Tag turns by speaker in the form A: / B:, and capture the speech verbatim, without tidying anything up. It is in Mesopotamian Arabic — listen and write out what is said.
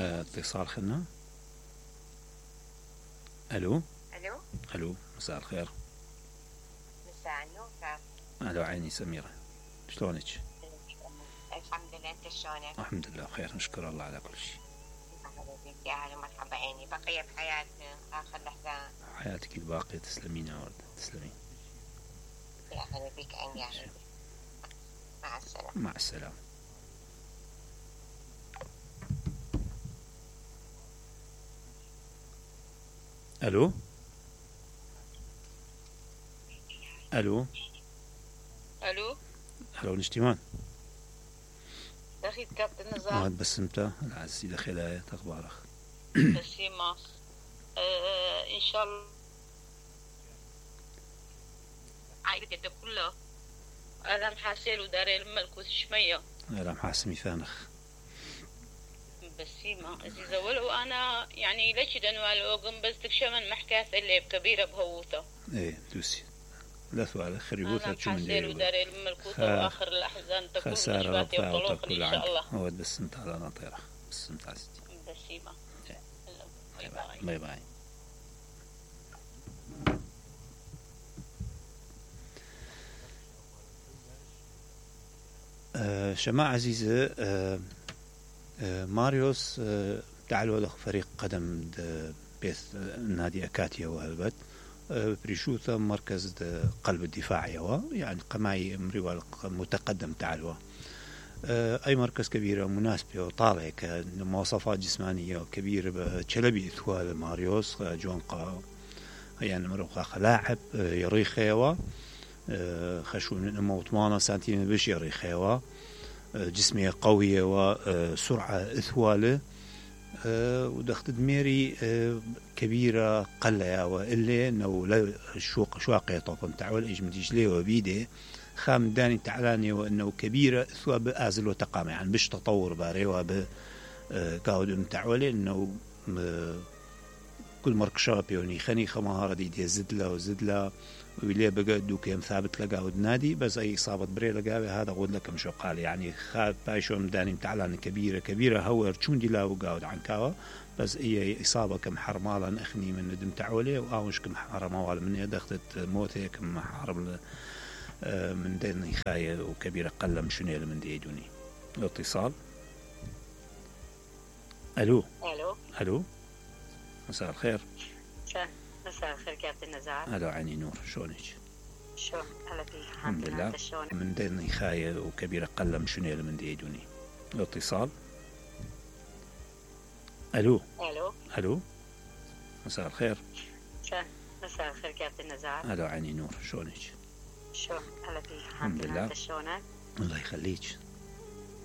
A: آه، اتصال خلنا. الو
B: الو
A: الو مساء الخير.
B: مساء النور.
A: الو عيني سميرة، شلونك؟
B: الحمد لله، انت شلونك؟
A: الحمد لله بخير، نشكر الله على كل شيء.
B: مرحبا بك، يا هلا مرحبا عيني. بقية بحياة اخر لحظة.
A: حياتك الباقية تسلمين يا وردة، تسلمين.
B: يا هلا بك عيني، يا هلا. مع السلامة.
A: مع السلامة. الو الو
C: الو
A: الو نجتمان.
C: اخي كابتن نزار.
A: ما بسمته العزيزي دخيلة اخبارك؟
C: بسيمة. آه ان شاء الله عائلتي كلها انا محاسيل وداري الملكوت شمية.
A: لا محاسمي ثانخ.
C: بسيمة عزيزة، ولو انا يعني ليش دنوال اوغم بس تكشمن محكاث اللي بكبيرة بهوته.
A: ايه دوسي لا سؤال خريبوثة
C: انا
A: شو من
C: محاسيل وداري الملكوت واخر الاحزان تكون
A: خسارة
C: نشواتي وطلوق
A: ربطها
C: ان شاء الله.
A: هو بس انت على ناطيرة بس انت عزيزتي.
C: بسيمة.
A: باي باي. باي باي. آه شماعة عزيزة، آه آه ماريوس آه تعالوا له فريق قدم بيث نادي أكاتيا وهلبت آه بريشوثا مركز قلب الدفاع يوا يعني قماي مريوال متقدم تعالوا آه أي مركز كبيرة مناسبة وطالع كمواصفات جسمانية كبيرة بشلبي إثوال ماريوس جونقا يعني مروقا لاعب آه يريخ يوا آه خشون نمو ثمانية سنتيمتر بش يريخ يوا جسمية قوية وسرعة إثوالة أه ودخت دميري أه كبيرة قلة وإلا إنه لا شوق شواقية طبعا تعول إيش مديش ليه وبيده خام داني تعلاني وإنه كبيرة إثوا بآزل وتقام يعني بش تطور باري وب أه قاود تعولي إنه أه كل مركشة بيوني خني خمهارة دي دي زد له وزد له ويلي بقى دوكيم ثابت لقاود نادي بس أي إصابة بري لقاوي هذا غود لكم شو قال يعني خاب بايشو مداني متعلان كبيرة كبيرة هو رشون دي لا وقاود عن كاوا بس هي إصابة كم حرمالا أخني من ندم تعولي وآوش كم حرمال من دخلت موتي كم حرم من دين خاية وكبيرة قلم شنيل من دي دوني. الاتصال. ألو
B: الو
A: ألو مساء الخير.
B: مساء الخير كابتن نزار.
A: ألو عيني نور، شلونك؟
B: شو هلا بك.
A: الحمد لله. من دين خاية وكبيرة قلم شنيل من دي دوني. الاتصال. ألو
B: الو
A: ألو مساء الخير.
B: مساء الخير كابتن نزار.
A: ألو عيني نور، شلونك؟
B: شو هلا بك.
A: الحمد لله.
B: شلونك؟
A: الله يخليك.